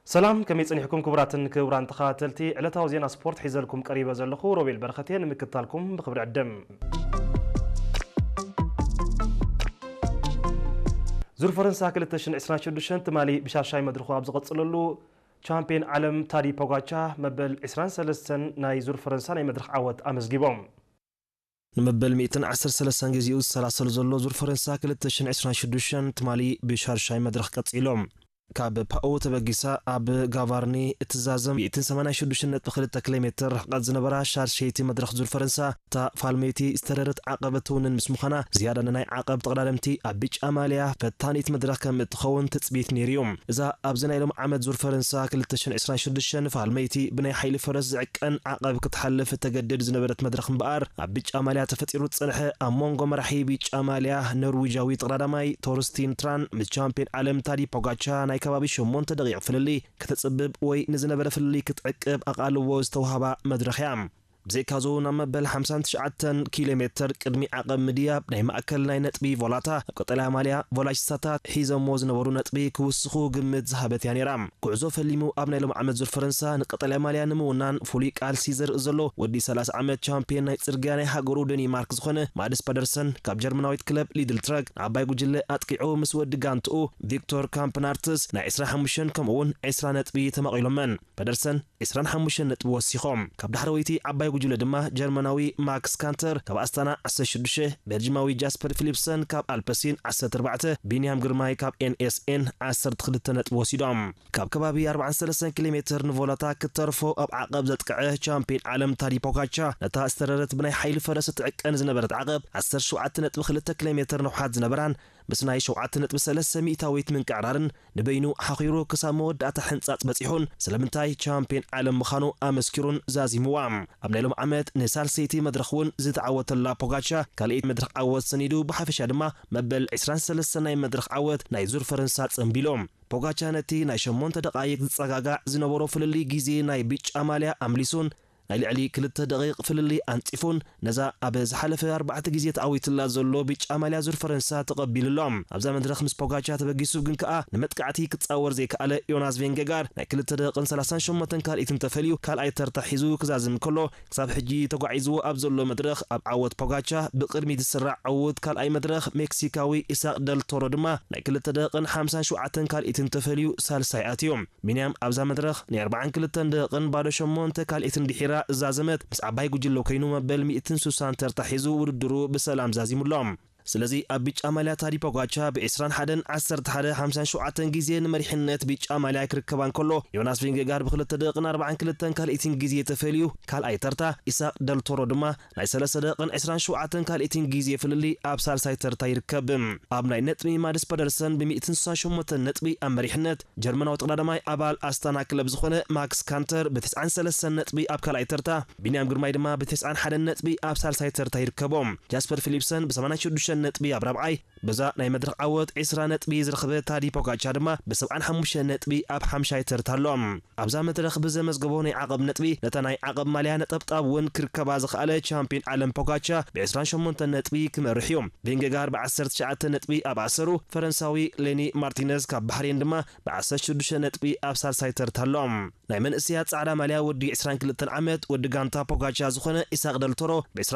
ሰላም፣ ከመይ ጸኒሕኩም ክቡራትን ክቡራን ተኸታተልቲ? ዕለታዊ ዜና ስፖርት ሒዘልኩም ቀሪበ ዘለኹ ሮቤል በረኸት እየ። ንምክትታልኩም ብኽብሪ ዕድም። ዙር ፈረንሳ ክልተ ሽሕን ዕስራን ሽዱሽተን ትማሊ ብሻሻይ መድረኹ ኣብ ዝቐጽለሉ፣ ቻምፒየን ዓለም ታዲ ፖጋቻ መበል ዕስራን ሰለስተን ናይ ዙር ፈረንሳ ናይ መድረኽ ዓወት ኣመዝጊቦም። ንመበል ሚእትን ዓሰርተ ሰለስተን ግዜኡ ዝሰላሰል ዘሎ ዙር ፈረንሳ ክልተ ሽሕን ዕስራን ሽዱሽተን ትማሊ ብሻርሻይ መድረኽ ቀጺሎም። ካብ ፓኦ ተበጊሳ ኣብ ጋቫርኒ እትዛዘም ሚእትን ሰማንያን ሽዱሽተን ነጥቢ ክልተ ኪሎ ሜትር ርሕቀት ዝነበራ ሻርሸይቲ መድረኽ ዙር ፈረንሳ፣ እታ ፋልመይቲ ዝተረረት ዓቐብ እትውንን ምስ ምዃና፣ ዝያዳ ንናይ ዓቐብ ተቐዳደምቲ ኣብ ብጫ ማልያ ፈታኒት መድረኽ ከም እትኸውን ትጽቢት ነይሩ እዩ። እዛ ኣብዚ ናይ ሎም ዓመት ዙር ፈረንሳ ክልተ ሽሕን ዕስራን ሽዱሽተን ፋልመይቲ ብናይ ሓይሊ ፈረስ ዝዕቀን ዓቐብ ክትሓልፍ እተገድድ ዝነበረት መድረኽ እምበኣር፣ ኣብ ብጫ ማልያ ተፈጢሩ ዝጸንሐ ኣብ መንጎ መራሒ ብጫ ማልያ ኖርዊጃዊ ተቐዳዳማይ ቶርስቲን ትራን ምስ ቻምፒዮን ዓለም ታዲ ፖጋቻ ናይ ከባቢ ሸሞንተ ደቂቕ ፍልልይ ከተጽብብ ወይ ንዝነበረ ፍልልይ ክትዕቅብ ኣቓልቦ ዝተውሃባ መድረኽ እያ። ብዘይካ'ዚ፣ ናብ መበል ሓምሳን ትሽዓተን ኪሎ ሜትር ቅድሚ ዓቐብ ምድያብ ናይ ማእከል ናይ ነጥቢ ቮላታ፣ ኣብ ቀጠልያ ማልያ ቮላቺስታታት ሒዘሞ ዝነበሩ ነጥቢ ክውስኹ ግምት ዝሃበት እያ ነይራ። ጉዕዞ ፈሊሙ ኣብ ናይ ሎም ዓመት ዙር ፈረንሳ ንቀጠልያ ማልያ ንምውናን ፍሉይ ቃልሲ ዘርኢ ዘሎ ወዲ ሰላሳ ዓመት ቻምፒየን ናይ ጽርግያ ናይ ሃገሩ ደኒማርክ ዝኾነ ማድስ ፓደርሰን፣ ካብ ጀርመናዊት ክለብ ሊድል ትረክ ንዓባይ ጉጅለ ኣጥቂዑ ምስ ወዲ ጋንትኡ ቪክቶር ካምፕናርትስ ናይ ዕስራን ሓሙሽተን ከምኡ እውን ዕስራ ነጥቢ ተማቒሎመን። ፓደርሰን ዕስራን ሓሙሽተን ነጥቢ ወሲኾም። ካብ ዳሕረወይቲ ዓባይ ጉጅለ ድማ ጀርመናዊ ማክስ ካንተር ካብ ኣስታና ዓሰርተ ሽዱሽተ፣ ቤልጂማዊ ጃስፐር ፊሊፕሰን ካብ ኣልፐሲን ዓሰርተ ኣርባዕተ፣ ቢንያም ግርማይ ካብ ኤን ኤስ ኤን ዓሰርተ ክልተ ነጥቢ ወሲዶም። ካብ ከባቢ ኣርባዓን ሰለስተን ኪሎ ሜትር ንቮላታ ክተርፎ ኣብ ዓቐብ ዘጥቅዐ ቻምፒዮን ዓለም ታዲ ፖጋቻ፣ ነታ ዝተረረት ብናይ ሓይሊ ፈረስ እትዕቀን ዝነበረት ዓቐብ ዓሰርተ ሸውዓተ ነጥቢ ክልተ ኪሎ ሜትር ንውሓት ዝነበራን ምስ ናይ ሸውዓተ ነጥቢ ሰለስተ ሚእታዊት ምንቅዕራርን ንበይኑ ሓኺሩ ክሳብ መወዳእታ ሕንጻጽ በጺሑን ስለምንታይ ቻምፒዮን ዓለም ምዃኑ ኣመስኪሩን ዛዚምዋ። ኣብ ናይ ሎም ዓመት ንሳልሰይቲ መድረኽ እውን ዝተዓወተላ ፖጋቻ ካልኣይቲ መድረኽ ዓወት ሰኒዱ ብሓፈሻ ድማ መበል ዕስራን ሰለስተን ናይ መድረኽ ዓወት ናይ ዙር ፈረንሳ ጸንቢሉ። ፖጋቻ ነቲ ናይ ሸሞንተ ደቓይቕ ዝጸጋጋዕ ዝነበሮ ፍልልይ ግዜ ናይ ብጫ ማልያ ኣምሊሱን ናይ ልዕሊ ክልተ ደቂቕ ፍልልይ ኣንጺፉን ነዛ ኣብ ዝሓለፈ ኣርባዕተ ግዜ ተዓዊትላ ዘሎ ብጫ ማልያ ዙር ፈረንሳ ተቐቢሉ ኣሎ። ኣብዛ መድረኽ ምስ ፖጋቻ ተበጊሱ ግን ከኣ ንመጥቃዕቲ ክጻወር ዘይከኣለ ዮናስ ቬንገጋር ናይ ክልተ ደቂቕን ሰላሳን ሸሞንተን ካልኢትን ተፈልዩ ካልኣይ ተርታ ሒዙ ክዛዝም ከሎ፣ ክሳብ ሕጂ ተጓዒዝዎ ኣብ ዘሎ መድረኽ ኣብ ዓወት ፖጋቻ ብቕድሚት ዝስራዕ ዕዉት ካልኣይ መድረኽ ሜክሲካዊ ኢሳቅ ደል ቶሮ ድማ ናይ ክልተ ደቂቕን ሓምሳን ሸውዓተን ካልኢትን ተፈልዩ ሳልሳይ ኣትዩ። ቢንያም ኣብዛ መድረኽ ናይ ኣርባዓን ክልተን ደቂቕን ባዶ ሸሞንተ ካልኢትን ድሒራ ዝዛዘመት ምስ ዓባይ ጉጅለ ኮይኑ መበል ሚእትን ስሳን ተርታ ሒዙ ውድድሩ ብሰላም ዛዚሙ ኣሎ። ስለዚ ኣብ ብጫ ማልያ ታዲ ፖጋቻ ብ ዕስራን ሓደን ዓሰርተ ሓደ ሓምሳን ሸውዓተን ግዜ ንመሪሕነት ብጫ ማልያ ክርከባ እንከሎ፣ ዮናስ ቪንጌጋርድ ብክልተ ደቂቕን ኣርባዓን ክልተን ካልኢትን ግዜ ተፈልዩ ካልኣይ ተርታ፣ ኢሳቅ ደልቶሮ ድማ ናይ ሰለስተ ደቂቕን ዕስራን ሸውዓተን ካልኢትን ግዜ ፍልልይ ኣብ ሳልሳይ ተርታ ይርከብ። ኣብ ናይ ነጥቢ ማድስ ፓደርሰን ብ ሚእትን ስሳን ሸሞንተን ነጥቢ ኣብ መሪሕነት፣ ጀርመናዊ ተቐዳዳማይ ኣባል ኣስታና ክለብ ዝኾነ ማክስ ካንተር ብ ተስዓን ሰለስተን ነጥቢ ኣብ ካልኣይ ተርታ፣ ቢንያም ግርማይ ድማ ብ ተስዓን ሓደን ነጥቢ ኣብ ሳልሳይ ተርታ ይርከቦም። ጃስፐር ፊሊፕሰን ብ ሰማንያን ሽዱሽተን ነጥቢ ኣብ ራብዓይ፣ በዛ ናይ መድረኽ ዓወት ዕስራ ነጥቢ ዝረኸበ ታዲ ፖጋቻ ድማ ብ ሰብዓን ሓሙሽተን ነጥቢ ኣብ ሓምሻይ ተርታ ኣሎ። ኣብዛ መድረኽ ብዘመዝገቦ ናይ ዓቐብ ነጥቢ፣ ነታ ናይ ዓቐብ ማልያ ነጠብጣብ እውን ክርከባ ዝኸኣለ ቻምፒዮን ዓለም ፖጋቻ ብ ዕስራን ሸሞንተን ነጥቢ ክመርሕ እዩ። ቬንጌጋር ብ ዓሰርተ ትሽዓተ ነጥቢ ኣብ ኣሰሩ፣ ፈረንሳዊ ሌኒ ማርቲነዝ ካብ ባህሬን ድማ ብ ዓሰርተ ሽዱሽተ ነጥቢ ኣብ ሳልሳይ ተርታ ኣሎ። ናይ መንእሰያት ጻዕዳ ማልያ ወዲ ዕስራን ክልተን ዓመት ወዲ ጋንታ ፖጋቻ ዝኾነ ኢሳቅ ደልቶሮ ብ